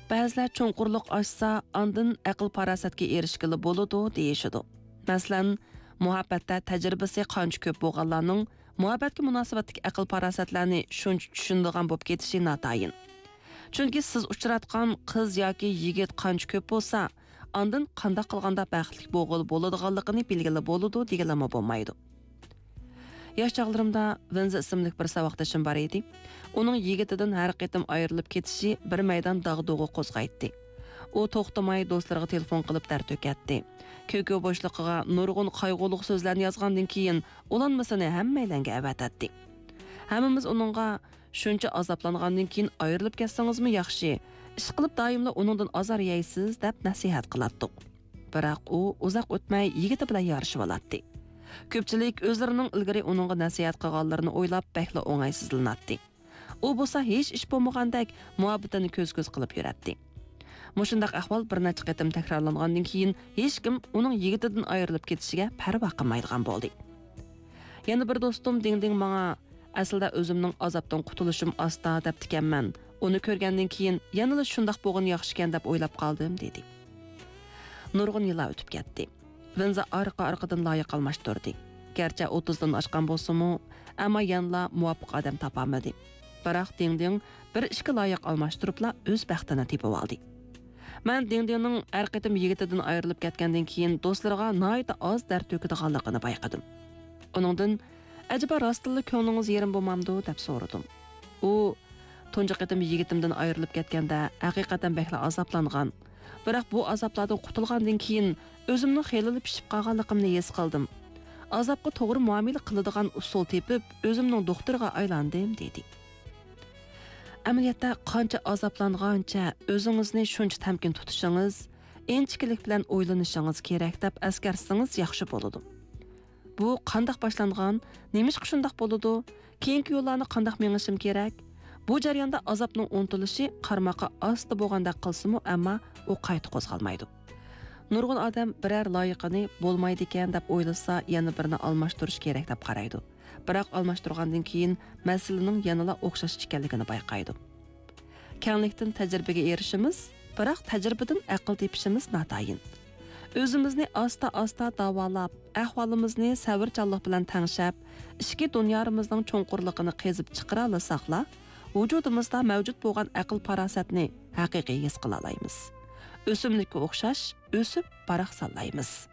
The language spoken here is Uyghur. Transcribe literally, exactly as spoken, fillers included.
بەزىلەر چوڭقۇرلۇق ئاشسا، ئاندىن ئەقىل-پاراسەتكە ئېرىشكىلى بولىدۇ، دېيىشىدۇ. مەسىلەن، مۇھەببەتتە تەجرىبىسى قانچە كۆپ بولغانلارنىڭ مۇھەببەتكە مۇناسىۋەتتىكى ئەقىل-پاراسەتلەرنى شۇنچە چۈشىنىدىغان بولۇپ كېتىشى ناتايىن. چۈنكى سىز ئۇچراتقان قىز ياكى يىگىت قانچە كۆپ بولسا، ئاندىن قانداق قىلغاندا بەختلىك بولغىلى بولىدىغانلىقىنى بىلگىلى بولىدۇ، دېگىلىمۇ بولمايدۇ. ياش چاغلىرىمدا ۋىنزا ئىسىملىك بىر ساۋاقدىشىم بار ئىدى. ئۇنىڭ يىگىتىدىن ھەر قېتىم ئايرىلىپ كېتىشى بىر مەيدان داغدۇغا قوزغايتتى. ئۇ توختىماي دوستلىرىغا تېلېفون قىلىپ دەرد تۆكەتتى. كۆكۈ بوشلۇقىغا نۇرغۇن قايغۇلۇق سۆزلەرنى يازغاندىن كېيىن، ئۇلانمىسىنى ھەممەيلەنگە ئەۋەتەتتى. ھەممىمىز ئۇنىڭغا، «شۇنچە ئازابلانغاندىن كېيىن ئايرىلىپ كەتسىڭىزمۇ ياخشى، ئىشقىلىپ دائىملا ئۇنىڭدىن ئازار يەيسىز» دەپ نەسىھەت قىلاتتۇق. بىراق ئۇ ئۇزاق ئۆتمەي يىگىتى بىلەن يارىشىۋالاتتى. كۆپچىلىك ئۆزلىرىنىڭ ئىلگىرى ئۇنىڭغا نەسىھەت قىلغانلىرىنى ئويلاپ بەكلا ئوڭايسىزلىناتتى. ئۇ بولسا ھېچ ئىش بولمىغاندەك مۇھەببىتىنى كۆز-كۆز قىلىپ يۈرەتتى. مۇشۇنداق ئەھۋال بىر نەچچە قېتىم تەكرارلانغاندىن كېيىن، ھېچكىم ئۇنىڭ يىگىتىدىن ئايرىلىپ كېتىشىگە پەرۋا قىلمايدىغان بولدى. يەنە بىر دوستۇم دىڭدىڭ ماڭا، «ئەسلىدە ئۆزۈمنىڭ ئازابتىن قۇتۇلۇشۇم ئاستا دەپتىكەنمەن. ئۇنى كۆرگەندىن كېيىن يەنىلا شۇنداق بولغىنى ياخشىكەن دەپ ئويلاپ قالدىم» دېدى. نۇرغۇن يىللار ئۆتۈپ كەتتى. ۋىنزا ئارقا-ئارقىدىن لايىق ئالماشتۇردى. گەرچە ئوتتۇزدىن ئاشقان بولسىمۇ، ئەمما يەنىلا مۇۋاپىق ئادەم تاپالمىدى. بىراق دىڭدىڭ بىر ئىككى لايىق ئالماشتۇرۇپلا ئۆز بەختىنى تېپىۋالدى. مەن دىڭدىڭنىڭ ھەر قېتىم يىگىتىدىن ئايرىلىپ كەتكەندىن كېيىن دوستلىرىغا ناھايىتى ئاز دەرد تۆكىدىغانلىقىنى بايقىدىم. ئۇنىڭدىن، «ئەجەبا راستتىنلا كۆڭلىڭىز يېرىم بولمامدۇ؟» دەپ سورىدىم. ئۇ، «تۇنجى قېتىم يىگىتىمدىن ئايرىلىپ كەتكەندە ھەقىقەتەن بەكلا ئازابلانغان. بىراق بۇ ئازابلاردىن قۇتۇلغاندىن كېيىن ئۆزۈمنىڭ خېلىلا پىشىپ قالغانلىقىمنى ھېس قىلدىم. ئازابقا توغرا مۇئامىلە قىلىدىغان ئۇسۇل تېپىپ، ئۆزۈمنىڭ دوختۇرىغا ئايلاندىم» دېدى. ئەمەلىيەتتە، قانچە ئازابلانغانچە ئۆزىڭىزنى شۇنچە تەمكىن تۇتۇشىڭىز، ئىنچىكىلىك بىلەن ئويلىنىشىڭىز كېرەك دەپ ئەسكەرتسىڭىز ياخشى بولىدۇ. بۇ قانداق باشلانغان؟ نېمىشقا شۇنداق بولىدۇ؟ كېيىنكى يوللارنى قانداق مېڭىشىم كېرەك؟ بۇ جەرياندا ئازابنىڭ ئۇنتۇلۇشى قارىماققا ئاستا بولغاندەك قىلسىمۇ، ئەمما ئۇ قايتا قوزغالمايدۇ. نۇرغۇن ئادەم بىرەر لايىقىنى بولمايدىكەن دەپ ئويلىسا، يەنە بىرىنى ئالماشتۇرۇش كېرەك دەپ قارايدۇ. بىراق ئالماشتۇرغاندىن كېيىن مەسىلىنىڭ يەنىلا ئوخشاش ئىكەنلىكىنى بايقايدۇ. كەڭلىكتىن تەجرىبىگە ئېرىشىمىز، بىراق تەجرىبىدىن ئەقىل تېپىشىمىز ناتايىن. ئۆزىمىزنى ئاستا-ئاستا داۋالاپ، ئەھۋالىمىزنى سەۋرچانلىق بىلەن تەڭشەپ، ئىچكى دۇنيارىمىزنىڭ چوڭقۇرلۇقىنى قېزىپ چىقىرالىساقلا، ۋۇجۇدىمىزدا مەۋجۇت بولغان ئەقىل-پاراسەتنى ھەقىقىي ھېس قىلالايمىز. ئۆسۈملۈككە ئوخشاش ئۆسۈپ باراقسانلايمىز.